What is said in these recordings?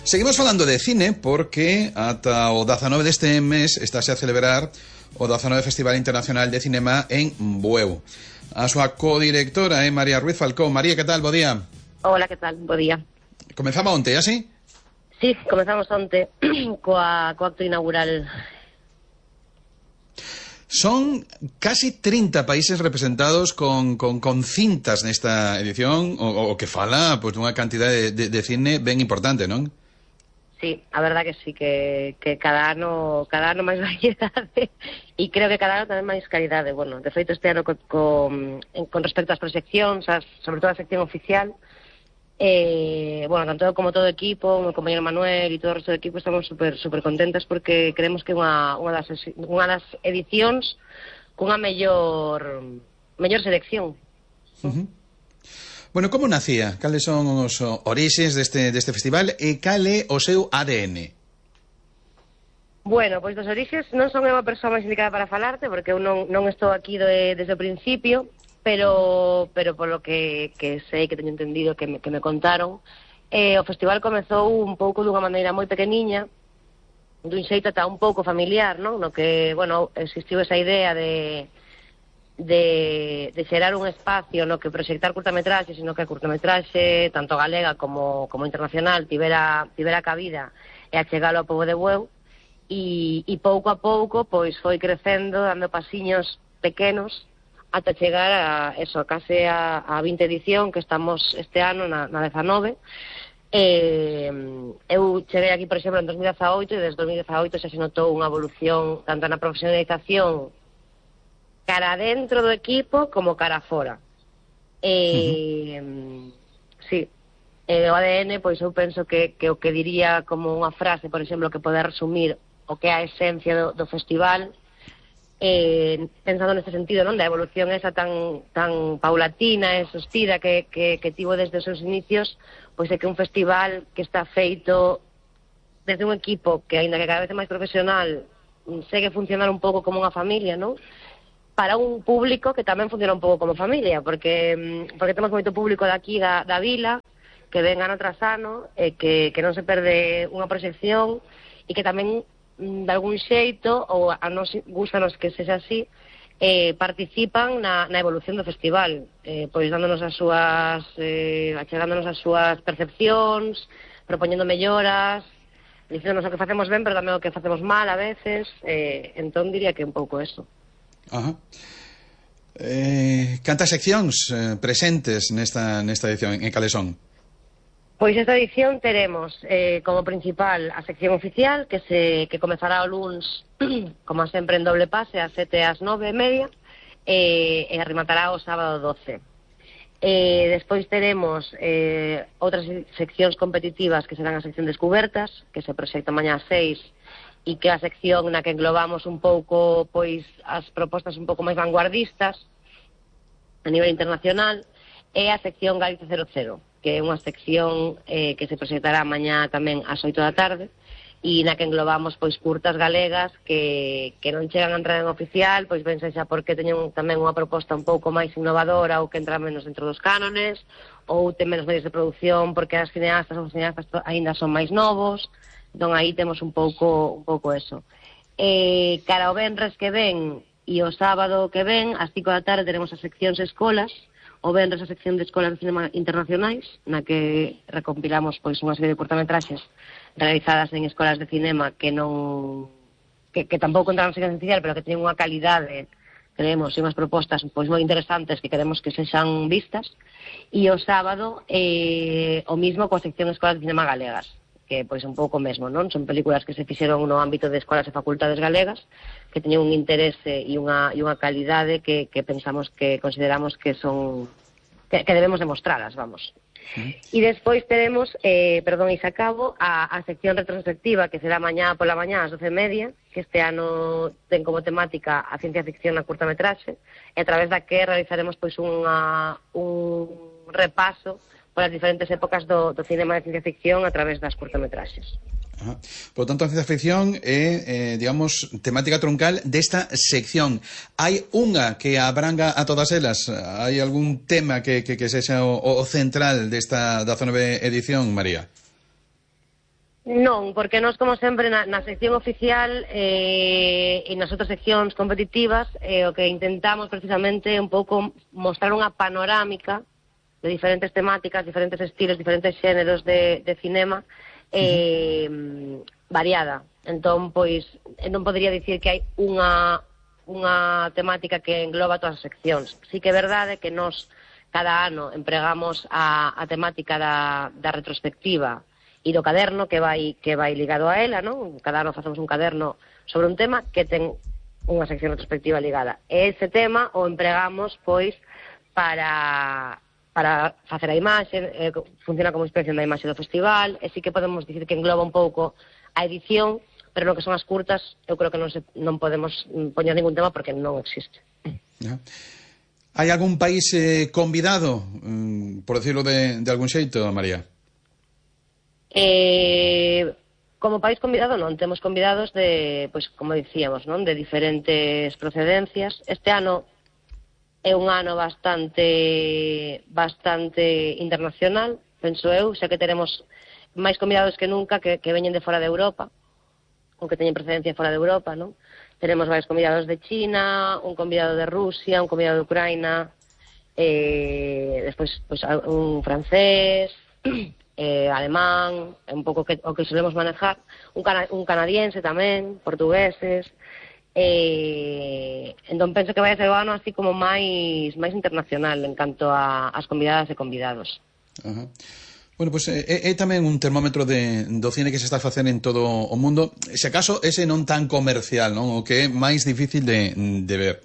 Seguimos falando de cine porque ata o 19 deste mes estáse a celebrar o 19 Festival Internacional de Cinema en Bueu. A súa codirectora é María Ruiz Falcón. María, que tal? Bo día. Hola, que tal? Bo día. Comezamos onte, así? Sí, comezamos onte co acto inaugural. Son casi 30 países representados con cintas nesta edición, o que fala pois, dunha cantidade de cine ben importante, non? Sí, a verdad que sí, que cada ano máis variedade e creo que cada ano tamén máis calidade. Bueno, de feito este ano con respecto ás proxeccións, sobre todo a sección oficial, bueno, tanto como todo o equipo, o meu compañero Manuel e todo o resto do equipo estamos super contentas porque creemos que é unha das edicións cunha mellor selección. Bueno, como nacía? Cales son os orixes deste festival e cal é o seu ADN? Bueno, pois dos orixes non son unha persoa máis indicada para falarte porque eu non estou aquí desde o principio, pero polo que sei, que teño entendido, que me contaron, o festival comezou un pouco dunha maneira moi pequeniña, dun xeito ata un pouco familiar, non? No que, bueno, existiu esa idea de xerar un espacio no que proxectar curtametraxe, sino que a curtametraxe, tanto galega como internacional, tivera cabida e achegalo ao pobo de Bueu, e pouco a pouco pois foi crecendo, dando pasiños pequenos, ata chegar a case a 20 edición que estamos este ano na 19. Eu cheguei aquí, por exemplo, en 2018 e desde 2018 xa se notou unha evolución tanto na profesionalización cara dentro do equipo como cara fora. Sí, o ADN, pois eu penso que o que diría como unha frase, por exemplo, que pode resumir o que é a esencia do festival, pensando neste sentido, non, da evolución esa tan paulatina e sostida que tivo desde os seus inicios, pois é que un festival que está feito desde un equipo que, aínda que cada vez é máis profesional, segue funcionar un pouco como unha familia, non? Para un público que tamén funciona un pouco como familia, porque temos moito público daqui da vila, que ven ano tras ano, que non se perde unha proxección, e que tamén, de algún xeito, ou a nos gustanos que sexa así, participan na evolución do festival, pois dándonos achegándonos as súas percepcións, propoñendo melloras, dicéndonos o que facemos ben, pero tamén o que facemos mal a veces, entón diría que un pouco eso. Cantas seccións presentes nesta edición, en cales son? Pois esta edición teremos como principal a sección oficial que comezará o luns, como sempre en doble pase, ás 7 e ás 9:30, e rematará o sábado 12. Despois teremos outras seccións competitivas que serán a sección descubertas, que se proxecta mañá ás 6, e que a sección na que englobamos un pouco pois as propostas un pouco máis vanguardistas a nivel internacional, é a sección Galicia 00, que é unha sección que se proxectará mañá tamén ás 8 da tarde, e na que englobamos pois curtas galegas que non chegan a entrar en oficial, pois ben xa porque teñen tamén unha proposta un pouco máis innovadora ou que entra menos dentro dos cánones, ou ten menos medios de produción porque as cineastas ou os cineastas aínda son máis novos. Entón aí temos un pouco eso. Cara ao venres que ven e o sábado que ven, ás 5 da tarde, teremos as seccións escolas. O venres a sección de escolas de cinema internacionais, na que recompilamos pois unha serie de curtametraxes realizadas en escolas de cinema que tampouco entraron en sección oficial, pero que teñen unha calidade, creemos, e unhas propostas pois moi interesantes que queremos que sexan vistas. E o sábado o mismo coa sección escolas de cinema galegas, que pois un pouco mesmo, non? Son películas que se fixeron no ámbito de escolas e facultades galegas, que teñen un interese e unha calidade que pensamos, que consideramos que son que debemos demostralas, vamos. E despois teremos, e xa acabo, a sección retrospectiva, que será mañá pola mañá ás 12:30, que este ano ten como temática a ciencia ficción na curtametraxe, e a través da que realizaremos pois un repaso polas diferentes épocas do cinema de ciencia ficción a través das curtametraxes. Por tanto, a ciencia ficción é, digamos, temática troncal desta sección. Hai unha que abranga a todas elas? Hai algún tema que sexa o central desta 19 edición, María? Non, porque nós, como sempre, na sección oficial e nas outras seccións competitivas, o que intentamos precisamente é un pouco mostrar unha panorámica de diferentes temáticas, diferentes estilos, diferentes xéneros de cinema variada. Entón, pois, non podería dicir que hai unha temática que engloba todas as seccións. Sí que é verdade que nós cada ano empregamos a temática da retrospectiva e do caderno que vai ligado a ela, non? Cada ano facemos un caderno sobre un tema que ten unha sección retrospectiva ligada. E ese tema o empregamos, pois, para facer a imaxe, funciona como inspección da imaxe do festival, e sí que podemos dicir que engloba un pouco a edición, pero no que son as curtas, eu creo que non podemos poñer ningún tema porque non existe. Hai algún país convidado, por decirlo de algún xeito, María? Como país convidado non, temos convidados de, pois, como dicíamos, non, de diferentes procedencias. Este ano é un ano bastante internacional, penso eu, xa que teremos máis convidados que nunca que veñen de fora de Europa, ou que teñen procedencia fora de Europa, non? Tenemos varios convidados de China, un convidado de Rusia, un convidado de Ucraína, despois pois, un francés, alemán, un pouco o que solemos manejar, un canadiense tamén, portugueses, entón penso que vai a ser o ano así como máis internacional en canto ás convidadas e convidados. Ajá. Bueno, pois é tamén un termómetro do cine que se está a facer en todo o mundo, se acaso ese non tan comercial, non? O que é máis difícil de ver.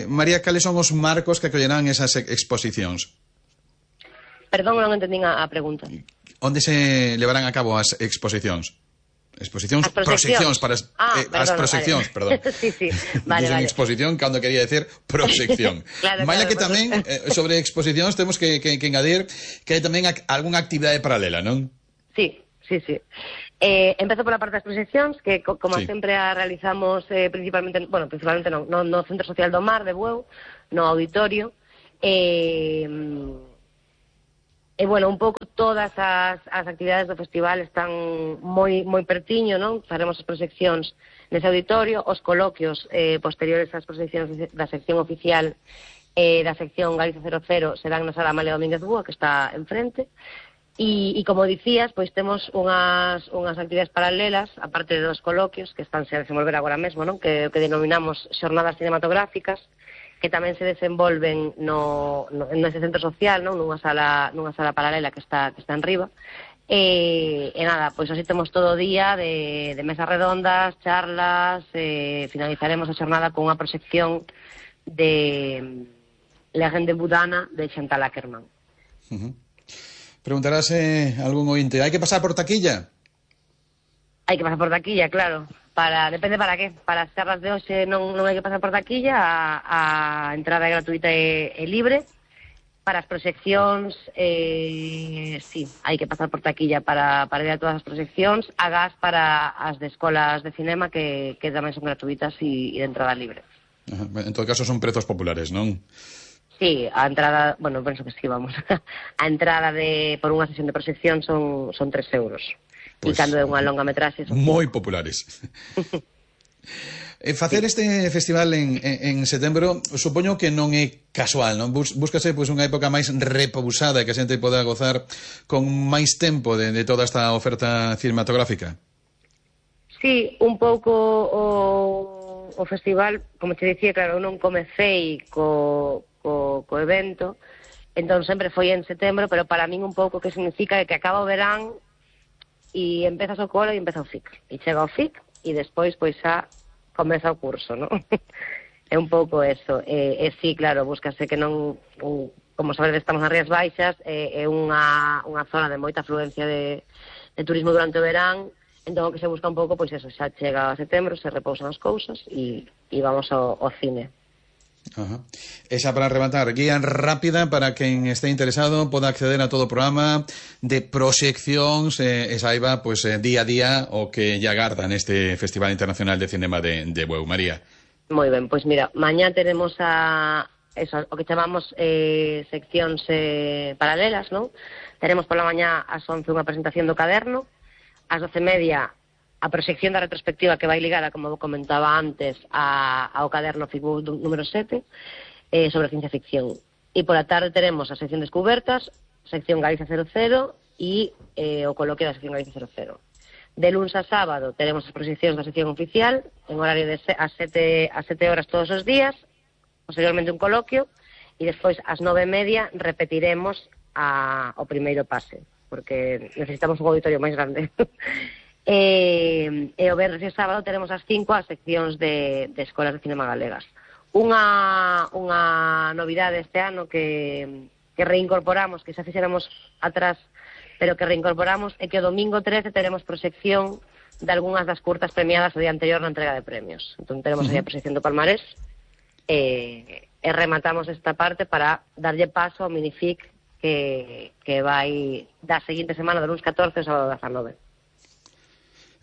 María, cales son os marcos que acollerán esas exposicións? Perdón, non entendín a pregunta. Onde se levarán a cabo as exposicións? Proxeccións para as proxeccións, vale. Perdón. Sí, vale. Exposición cando quería decir proxección. Claro, que tamén sobre exposicións temos que engadir que hai tamén algunha actividade paralela, non? Sí. Empezo pola parte das proxeccións, que como sempre a realizamos principalmente no Centro Social do Mar de Bueu, no auditorio, e, bueno, un pouco todas as actividades do festival están moi pertiño, non? Faremos as proxeccións nese auditorio, os coloquios posteriores ás proxeccións da sección oficial da sección Galicia 00 serán na Sala Amália Domínguez Búa, que está enfrente, e como dicías, pois temos unhas actividades paralelas, aparte dos coloquios, que están a desenvolver agora mesmo, non? Que denominamos xornadas cinematográficas, que tamén se desenvolven nese centro social, non? Nunha sala paralela que está en riba. E nada, pois así temos todo o día de mesas redondas, charlas, finalizaremos a xornada con unha proxección de Legende Budana de Chantal Akerman. Preguntarase algún ointe, hai que pasar por taquilla? Hai que pasar por taquilla, claro. Depende para qué. Para as charlas de hoxe non hai que pasar por taquilla, a entrada é gratuita e libre. Para as proxeccións, sí, hai que pasar por taquilla para ir a todas as proxeccións, agás para as de escolas de cinema que tamén son gratuitas e de entrada libre. Ajá. En todo caso son prezos populares, non? Sí, a entrada, bueno, penso que sí, vamos. A entrada por unha sesión de proxección son 3 euros. E cando é unha longa metraxe son moi populares. Facer este festival en setembro supoño que non é casual, non? Búscase pois unha época máis repousada que a xente poda gozar con máis tempo de toda esta oferta cinematográfica. Sí, un pouco o festival, como te dicía, claro, eu non comecei co evento, entón sempre foi en setembro, pero para min un pouco que significa que acaba o verán e empezas o cole e empeza o FIC. E chega o FIC e despois pois xa comeza o curso, non? É un pouco eso. E sí, claro, búscase que non, como sabedes, estamos nas Rías Baixas, é unha zona de moita afluencia de turismo durante o verán, entón o que se busca un pouco, pois eso, xa chega a setembro, se repousan as cousas e vamos ao cine. Ajá. Esa para rematar, guía rápida para quen esté interesado poda acceder a todo o programa de proxeccións e saiba pois, día a día o que lle agarda neste Festival Internacional de Cinema de Bueu. María. Moi ben, pois mira, mañá teremos o que chamamos seccións paralelas, non? Teremos pola mañá ás 11 unha presentación do caderno, ás 12:30 a proxección da retrospectiva que vai ligada, como comentaba antes, ao caderno FICBOU número 7 sobre ciencia ficción. E pola tarde teremos a sección Descubertas, sección Galicia 00 e o coloquio da sección Galicia 00. De luns a sábado teremos as proxeccións da sección oficial en horario de a 7 horas todos os días, posteriormente un coloquio, e despois ás 9:30 repetiremos o primeiro pase, porque necesitamos un auditorio máis grande. E o venres e sábado teremos as 5 as seccións de escolas de cinema galegas. Unha novidade este ano que reincorporamos, que xa fixéramos atrás, pero que reincorporamos, é que o domingo 13 teremos proxección de algunhas das curtas premiadas o día anterior na entrega de premios. Entón teremos aí a proxección do Palmarés e rematamos esta parte para darlle paso ao Minific que vai da seguinte semana, do luns 14 ao sábado 19.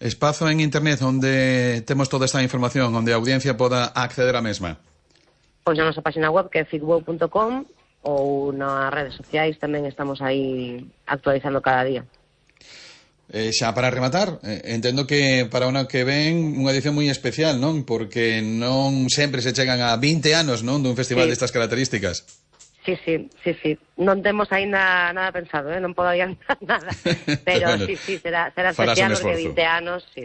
Espazo en internet onde temos toda esta información, onde a audiencia poda acceder á mesma. Pois na nosa página web, que é ficbou.com, ou nas redes sociais tamén estamos aí actualizando cada día. Xa para rematar, entendo que para o ano que ven unha edición moi especial, non? Porque non sempre se chegan a 20 anos, non, dun festival destas características. Sí. Non temos aínda nada pensado, non podo adiantar nada. Pero bueno, sí, será especial porque 20 anos, sí.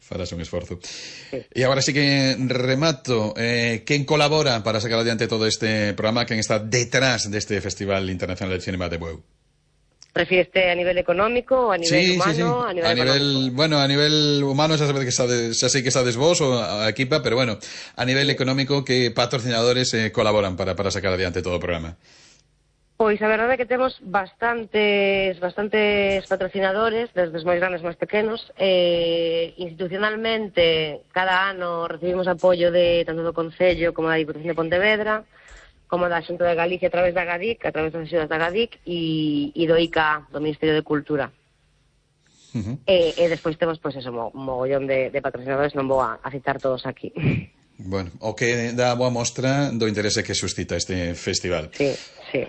Farás un esforzo. Sí. E agora sí que remato. Quen colabora para sacar adiante todo este programa? Quen está detrás deste Festival Internacional de Cinema de Bueu? Prefireste a nivel económico ou a nivel humano? Sí. A nivel humano xa sei que sabes vos ou a equipa, pero bueno, a nivel económico, que patrocinadores colaboran para sacar adiante todo o programa? Pois a verdade é que temos bastantes patrocinadores, desde os máis grandes máis pequenos. Institucionalmente, cada ano recibimos apoio tanto do Concello como da Diputación de Pontevedra, como da Xunta de Galicia a través da GADIC, a través das axudas da GADIC, e do ICA, do Ministerio de Cultura. E despois temos, pois eso, mogollón de patrocinadores, non vou a citar todos aquí. Bueno, o que dá boa mostra do interese que suscita este festival. Sí.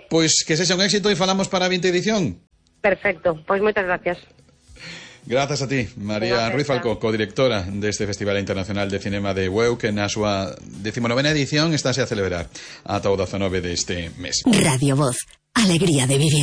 Pois que sexa un éxito e falamos para a 20ª edición. Perfecto, pois moitas gracias. Grazas a ti, María Ruiz Falcó, codirectora deste Festival Internacional de Cinema de Bueu, que na súa 19ª edición estáse a celebrar ata o 19 deste mes. Radio Voz, alegría de vivir.